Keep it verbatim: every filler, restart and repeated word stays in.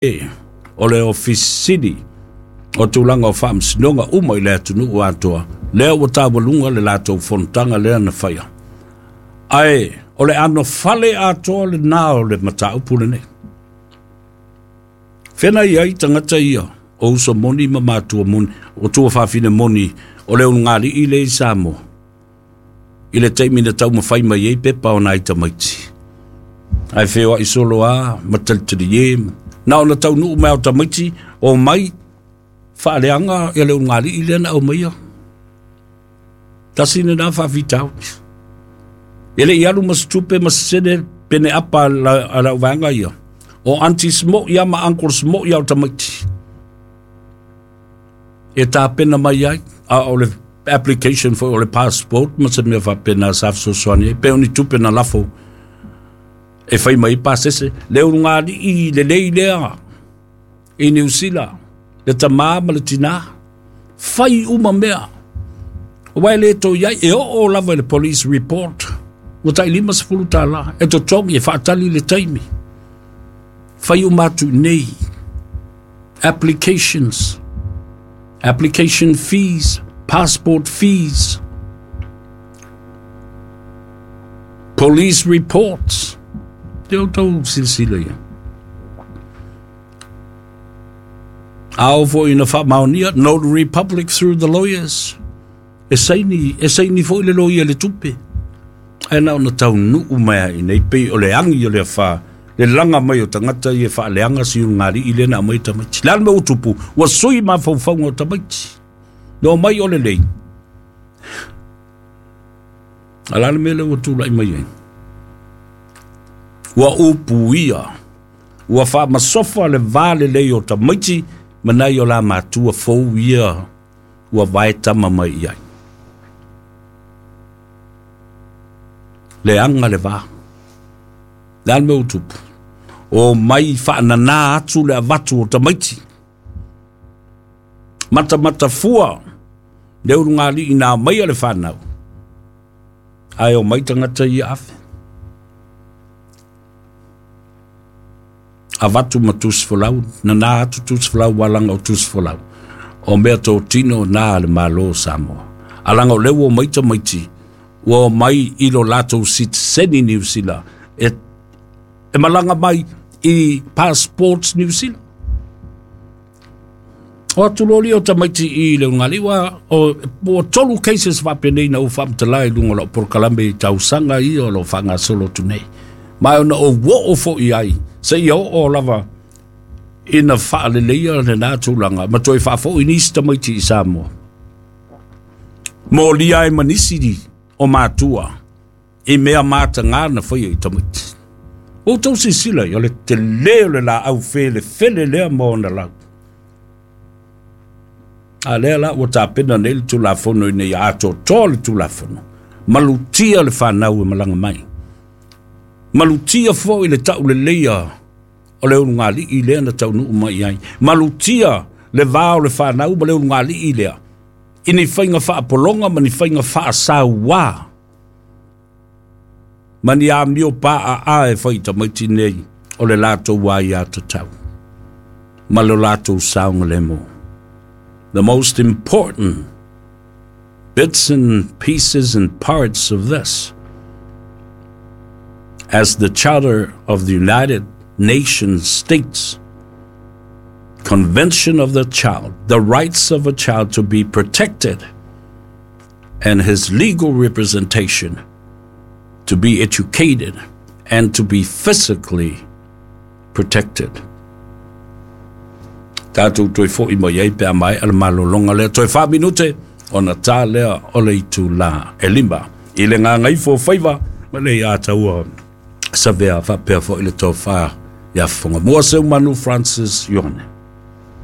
O le ofisini o tulaga o faamasinoga uma i le atunuu atoa, lea ua taualuga le latou fonotaga lea na faia. Ae o le anofale atoa lena o le mataupu lenei. Fena i ai tagata ia o uso moni ma matua moni, o tuafafine moni o le ulugalii lea i Samoa, i le taimi na taumafai mai ai pepa o nai tamaiti. Ae feoai solo a ma talitalie, na ona taunuu mai o tamaiti o mai faaleaga ia le ulugalii lea na aumaia. Tasi lena faafitauli. E le i alu ma se tupe ma se sene pene apa a lau vaega ia. O aunties mo ia ma uncles mo ia o tamaiti. E tapena mai ai, a o le application foi o le passport ma se mea faapena sa fesoasoani ai. Pe o ni tupe na lafo e fai mai pasese. Le ulugalii lelei lea i Niu Sila, le tamā ma le tinā, fai uma mea. Aua e le toe i ai, e oo lava i le police report, ua tai lima sefulu tālā, e totogi e faatali le taimi. Fai uma atu i nei, applications, application fees, passport fees, police reports. Te outou silasila ia. Ao foi na faamaonia, notary public through the lawyers. E saini, e saini foi le loia le tupe. Ae na ona taunuu mai ai nei pei o le agi o le afa, le laga mai o tagata ia faaleaga si ulugalii lea na aumai tamaiti. Le a le mea ua tupu, ua sui mafaufauga o tamaiti. Na omai o lelei. A la le mea lea ua tulai mai ai. Ua upuia, ua faamasofa le va lelei o tamaiti ma nai o la matua fou ia ua vaetama mai i ai. Leaga le va. Le a le mea ua tupu? O mai faananā atu le avatu o tamaiti. Matamatafua le ulugalii na aumaia le fanau. Ae o mai tagata ia ave. Avatu ma tusi folau, nana atu tusi folau, walaga o tusi folau. O mea totino na le Malo o Samoa. Alaga o lea ua omai tamaiti, ua omai i lo latou sitiseni Niu Sila, e, e malaga mai i passports Niu Sila. O atu loa lea o tamaiti i le ulugalii, ua, o, ua tolu cases faapenei na ou faamatala i luga o lau polokalame i tausaga ia o lo o faagasolo atu nei. Ma ona ou oo foi ai, seia oo lava ina faaleleia lena tulaga, ma toe faafoi nisi tamaiti i Samoa. Molia ai ma nisi o matua i mea matagā na faia i tamaiti. Ua outou silasila i o le telē o le laau felefele lea ma ona lau. A lea la ua tapena nei le Tulafono ina ia atoatoa le Tulafono, malutia le fanau e malaga mai. Malutia foi le tauleleia o le ulugalii lea na taunuu mai ai. Malutia le va o le fanau ma le ulugalii lea i ni faiga faapologa ma ni faiga faasauā ma ni amio paaa e fai tamaiti nei o le latou aiatatau ma le latou saogalemu. The most important bits and pieces and parts of this, as the Charter of the United Nations states, Convention of the Child, the rights of a child to be protected and his legal representation to be educated and to be physically protected. Tatou toe foi mai ai pe a maea le malologa lea. Toe fa minute ona ta lea o le itulā e lima. I le gagaifo faiva ma le ia taua savea faapea foi le tofa ia Fogamua Seumanu Francis Ione.